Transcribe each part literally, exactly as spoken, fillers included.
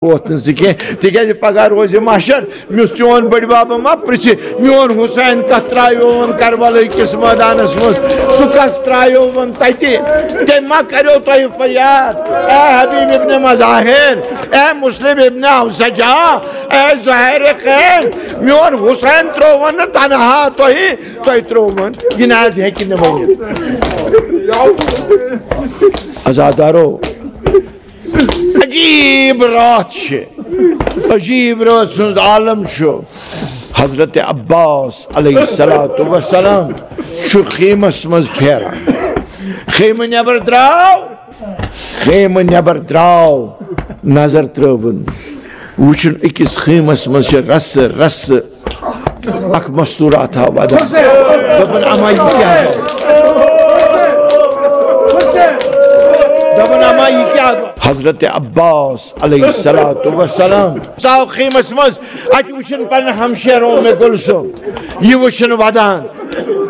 ووت نہٕ ژٕ کینٛہہ، تِکیٛازِ پگاہ روزِ محشر۔ مےٚ اوس چون بٔڈۍ بَب ما پرٛژھِ، میون حسین کَتھ ترٛایووُن کربلہٕ کِس مٲدانَس منٛز؟ سُہ کَس ترٛایووُن تَتہِ؟ تٔمۍ ما کَریو تۄہہِ فریاد؟ اے حبیب ابن مظاہر، اے مسلم ابن اوسجا، اے زہیر خین، میون حسین ترٛووُن نہٕ تنہا تۄہہِ، تۄہہِ ترٛووُن۔ یہِ نہ حظ ہیٚکہِ نہٕ ؤنِتھ۔ عزادارو، عجیب راتھ چھِ، عجیب رٲژ ہٕنٛز عالم چھُ۔ حضرت عباس علیہ الصلوۃ والسلام چھُ خیمس منٛز پھیران۔ خیمہٕ نٮ۪بر درٛاو، خیمہٕ نٮ۪بر درٛاو، نظر ترٲوٕن، وٕچھُن أکِس خیمس منٛز چھِ رسہٕ رسہٕ اکھ مستوراتھا ودان۔ دوٚپُن، اما یہِ کیٛاہ گوٚو؟ دوٚپُن، اما یہِ کیٛاہ گوٚو؟ حضرت عباس علیہ الصلوۃ والسلام ژاو خیمس منٛز، اتہِ وٕچھُن پنُن ہمشیرٕ اُم کلثوم، یہِ وٕچھُن ودان،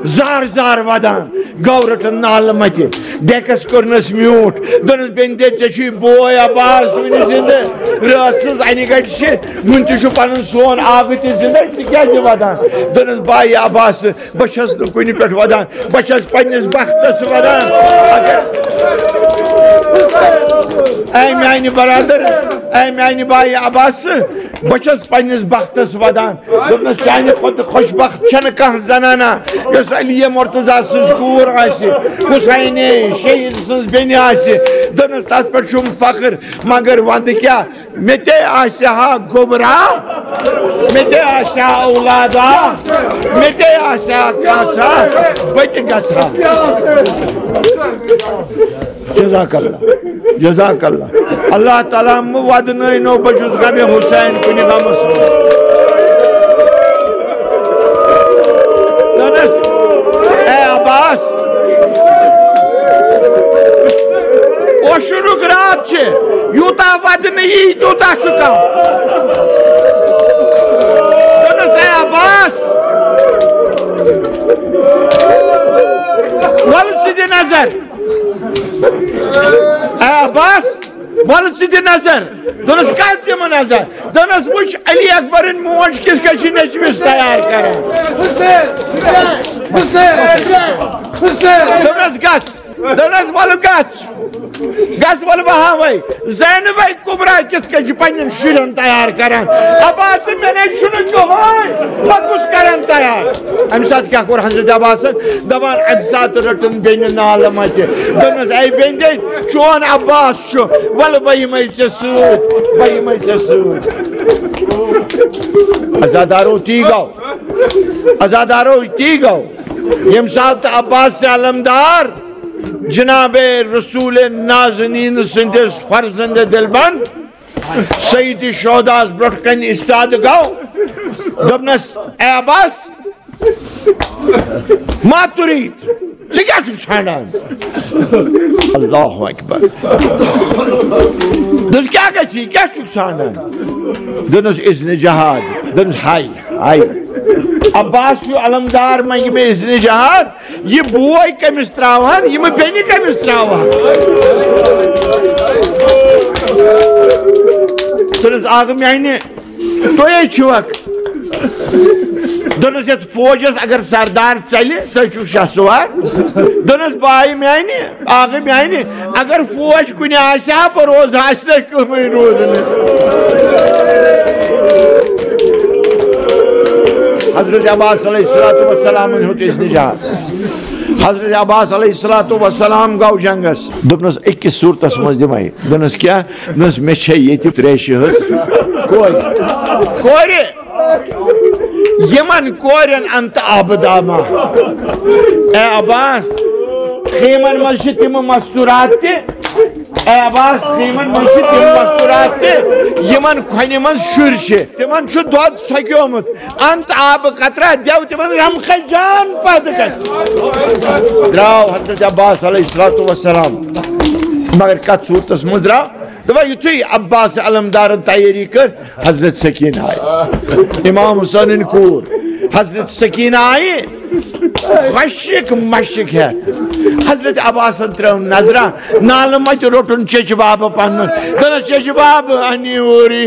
زار زار ودان، گوٚو رٔٹٕن نالہٕ متہِ۔ ڈیکس کوٚرنس میوٗٹھ، دوٚپنس، "بیٚنہِ دے، ژےٚ چھُے بوے عباس وُنہِ زِندٕ، رٲژ سٕنٛز انہِ گٹہِ چھِ، وُنہِ تہِ چھُ پنُن سون آبہٕ تہِ زِندٕ، ژٕ کیٛازِ ودان؟" دوٚپنس، "بایہِ عباس، بہٕ چھَس نہٕ کُنہِ پٮ۪ٹھ ودان، بہٕ چھَس پننِس بختس ودان۔ اگر، اے میانہِ برادر، اے میانہِ بایہِ عباس، بہٕ چھَس پننِس بختس ودان۔" دوٚپنَس، "چانہِ کھۄتہٕ خۄش بخت چھَنہٕ کانٛہہ زنانہ، یۄس علی مرتضیٰ سٕنٛز کوٗر آسہِ، حسین شہید سٕنٛز بیٚنہِ آسہِ۔" دوٚپنَس، "تَتھ پٮ۪ٹھ چھُم فخر، مگر وَندٕ کیٛاہ، مےٚ تہِ آسہِ ہا گوٚبرا، مےٚ تہِ آسہِ ہا اولادا، مےٚ تہِ آسہِ ہا کانٛژھا، بہٕ تہِ گژھٕ ہا۔" جزاک اللہ، جزاک اللہ۔ اللہ تعالیٰ مہٕ ودنٲینو، بہٕ چھُس غمِ حسین کُنہِ غمس منٛز۔ دوٚپنس، اے عباس، اوشُنُک راتھ چھِ، یوٗتاہ ودنہٕ یی، تیوٗتاہ چھُ کم۔ دوٚپنس، اے عباس، وَلہٕ ژٕ دِ نظر۔ اے عباس، وَلہٕ ژٕ دِ نظر۔ دوٚپنَس، کَتھ دِمہٕ نظر؟ دوٚپنَس، وٕچھ، علی اکبرٕنۍ موج کِژھ کٔنۍ چھِ نیٚچوِس تیار کران۔ دوٚپنَس، گژھ۔ دوٚپنَس، وَلہٕ گژھ۔ گژھ، وَلہٕ بہٕ ہاوَے۔ زینبَے کُبرا کِتھ کٔنۍ چھِ پننٮ۪ن شُرٮ۪ن تیار کران؟ عباس، مےٚ نے چھُنہٕ کٕہٕنۍ، بہٕ کُس کرن تیار؟ اَمہِ ساتہٕ کیٛاہ کوٚر حضرت عباسن؟ دَپان، اَمہِ ساتہٕ رٔٹٕن بیٚنہِ نالہٕ مَتہِ۔ دوٚپنَس، اے بیٚنہِ، چون عباس چھُ، وَلہٕ بہٕ یِمَے ژےٚ سۭتۍ، بہٕ یِمَے ژےٚ سۭتۍ۔ عزادارو، تی گوٚو، عزادارو، تی گوٚو۔ ییٚمہِ ساتہٕ عباس علمدار جناب رسول نازنین سٕنٛدِس فرزند دلبند سید شہداہس برونٛٹھ کنہِ استاد گوٚو، دوٚپنس، اے عباس، ما تريد؟ ژٕ کیٛاہ چھُکھ ژھانٛڈان؟ اللہ اکبر۔ دوٚپنس، کیٛاہ گژھِ؟ کیٛاہ چھُکھ ژھانٛڈان؟ دوٚپنس، اذن جہاد۔ دوٚپنس، ہاے، ہاے۔ عباس چھُ علمدار، منٛگہِ مےٚ اذن جہاد۔ یہِ بوے کٔمِس تراوہن، یِمہٕ بیٚنہِ کٔمِس تراوہن؟ دوٚپنس، آغہٕ میانہِ، تُہۍ ہے چھِوکھ۔ دوٚپنس، یتھ فوجس اگر سردار ژلہِ، ژٕ چھُکھ شاہ سوار۔ دوٚپنس، بایہِ میانہِ، آغہٕ میانہِ، اگر فوج کُنہِ آسہِ ہا، بہٕ روزٕ ہا اَسہِ تۄہہِ کٲمٕے روزنہٕ۔ حضرت عباس علیہ الصلوۃ والسلام ہیوٚت اذن جہاد۔ حضرت عباس علیہ الصلوۃ والسلام گوٚو جنگس۔ دوٚپنس، أکِس صوٗرتس منٛز دِمے۔ دوٚپنس، کیٛاہ؟ دوٚپنس، مےٚ چھےٚ ییٚتہِ تریشہِ ہٕنٛز کورِ۔ کورِ۔ یِمن کورٮ۪ن انت آبہٕ دامہ۔ اے عباس، خیمن منٛز چھِ تِم مستورات تہِ۔ اے عباس، خیمن منٛز چھِ تِم مستورات تہِ، یِمن کھۄنہِ منٛز شُرۍ چھِ۔ تِمن چھُ دۄد سۄکیومُت۔ انت آبہٕ قطرہ دٮ۪و تِمن رمقہٕ جان پتہٕ گژھِ۔ درٛاو حضرت عباس علیہ الصلوۃ والسلام۔ مگر کتھ صوٗرتس منٛز درٛاو؟ دپان، یُتھُے عباس علمدارن تیٲری کٔر، حضرت سکینہ آیہِ۔ امام حسینٕنۍ کوٗر، حضرت سکینہ آیہِ۔ غشک مشک ہٮ۪تھ حضرت عباسن ترٲو نظرہ، نالہٕ متہِ روٚٹُن چیچہِ بابہٕ پنُن۔ دوٚپنس، "چیچہِ بابہٕ، انی اوٗری،